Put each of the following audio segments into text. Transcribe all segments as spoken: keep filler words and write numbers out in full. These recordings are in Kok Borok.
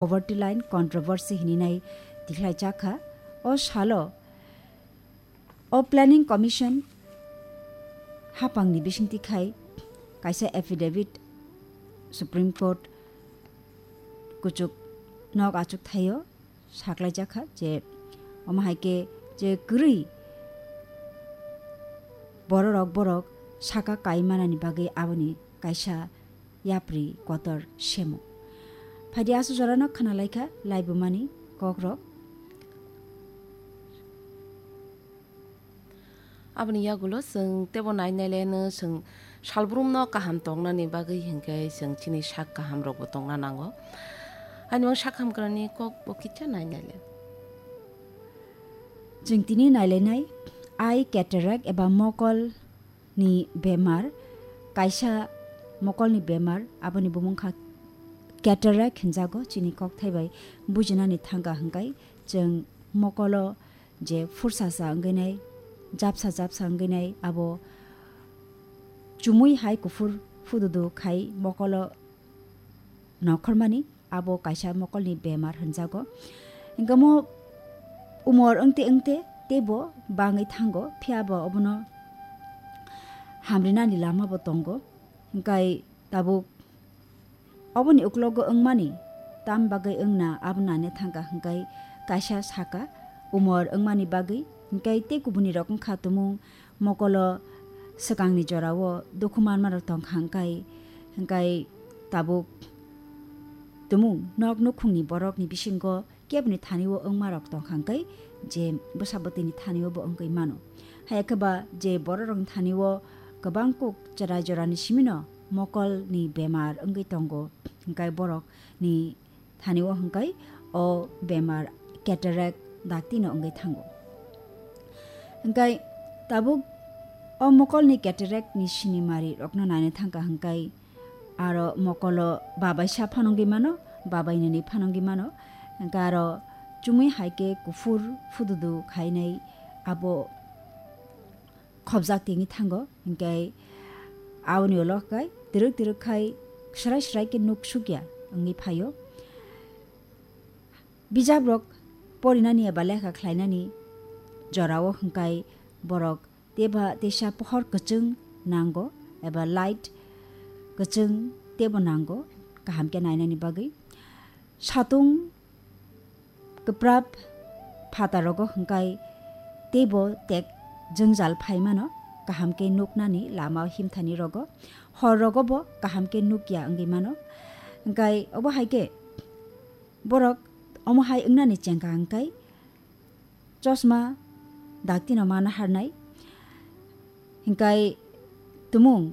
poverty line controversy hininai tikhlaijakha. O salo o Planning Commission hapangni bisingtwi khai kaisa affidavit Supreme Court kuchuk nok achuk thaio saklaijakha je omo hai khe je kwrwi bororok borok saka kai manani bagwi aboni kaisa yapri kotor semo. Phaidi aswk jorano khna laikha laibumani kokrok. Aboni yagulo chwng tebo nai nai le no chwng salbrumno kaham tongnani bagwi hinkhe chwng chini sak kaham rokbo tongna nango. Ani o sak hamkrani kok bo kisa nai nai le. Chwng tini nailainai eye cataract eba mokol ni bemar, kaisa mokolni bemar, aboni bumung kha cataract hinjago. Chini kokthai bai bujinani thangka hwnkhe chwng mokolo je phursa sa wngwi nai, japsa japsa wngwi nai, abo chumui hai kuphur phududu khai mokolo nokhormani, abo kaisa mokolni bemar hinjago. Hinkhe omo umor wngte wngte teibo bangwi thango, phiya bo obono hamrinani lama bo tongo. Hinkhe tabuk oboni uklogo wngmani tam bagwi wngna abo nane thangka hwnkhe kaisa saka umor wngmani bagwi, hinkhe tei kubuni rok wngkha tumung mokolo swkangni jorao dukhu manmarok tongkha hwnkhe, hwnkhe tabuk tumung nok nukhungni borokni bisingo keboni thanio wngmarok tongkha hwnkhe je bwsa bwtwini thanio bo wngwi mano. Haiya khe ba je bororokni thanio kwbang kuk chwrai jorani simino mokolni bemar wngwi tongo, hwnkhe borokni thanio hwnkhe o bemar cataract daktino wngwi thango. Hwnkhe tabuk o mokolni cataract ni sinimari rokno naina thangka hwnkhe aro mokolo babaisa phanangwi mano, babainini phanangwi mano. Hwnkhe aro chumui hai khe kuphur phududu khainai abo khobjak tengwi thango, hinkhe aboni ulo khai twrwk twrwk khai srai srai khe nuk sukya wngwi phaio. Bijabrok porinani eba lekha khlainani jorao hwnkhe borok teba teisa pohor kwchwng nango eba light kwchwng tebo nango kaham khe nainani bagwi. Satung kwprap phatharogo hwnkhe teibo tek jwngjal phai mano, kaham khe nuknani lama himthani rogo, hor rogo bo kaham khe nukya wngwi mano. Hwnkhe obo hai khe borok omo hai wngnani chengkha hwnkhe chosma daktino mana harnai. Hwnkhe tumung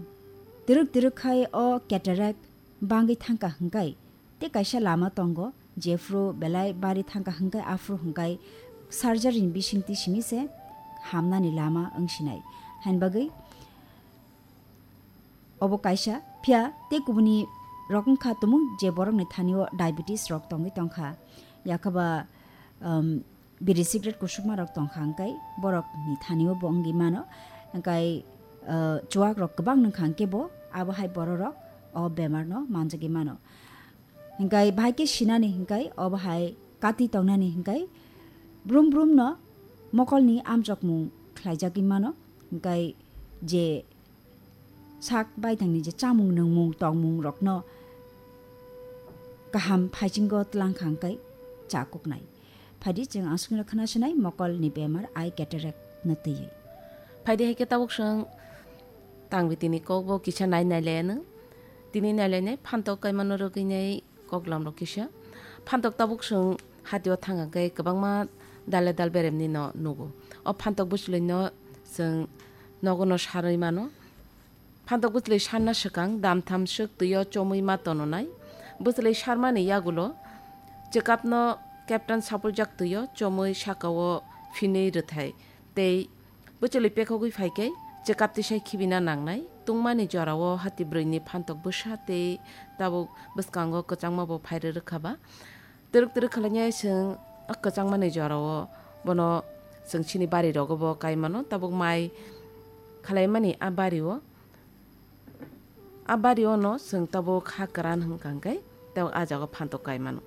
twrwk twrwk khai o cataract bangwi thangkha hwnkhe tei kaisa lama tongo, jephru belai bari thangkha hwnkhe aphru hwnkhe surgery ni bisingtwi simi se hamnani lama wngsinai. Hain bagwi obo kaisa, phiya tei kubuni rok wngkha tumung je borokni thanio diabetes rok tongwi tongkha, yakhaba, um, biri cigarette kusukma rok tongkha hwnkhe borokni thanio bo wngwi mano, hwnkhe, uh, chuwak rok kwbang nungkha hwnkhe bo abo hai bororok o bemar no manjagwi mano. Hwnkhe bahai khe sinani hwnkhe obo hai kati tongnani hwnkhe brum brum no mokolni amchokmung khlaijagwi mano, hwnkhe je sak baithangni je chamung nungmung tongmung rokno kaham phaisingo tlang kha hwnkhe chakuknai. Phaidi chwng aswkno khwnasinai mokolni bemar eye cataract no twiwi. Phaidi hai khe tabuk chwng tangwi tini kokbo kisa nai nai le nw. Tini nai le nai phantok kaimano rwgwi nai koklam rok kisa. Phantok tabuk chwng hatio thang khe kwbangma dal le dal beremni no nugo. O phantok bwchlwi no chwng nogo no sarwi mano. Phantok bwchlwi sarna swkang damtham swk twio chomwi ma tononai. Bwchlwi sarmani yagulo chwkapno captain sapuljak twio chomwi sakao phinwi rwthai tei bwchlwi pekhogwi phai khe chwkap tisai khibina nangnai. Tungmani jorao hati brwini phantok bwsa tei tabuk bwskango kwchangma bo phai rwrwkha ba. Twrwk twrwk khlainai chwng a kwchangmani jorao bono chwng chini bari rogo bo kai mano, tabuk mai khlaimani a bario. A bario no chwng tabuk ha kwran hwnkha hwnkhe tabuk a jaga phantok kai mano.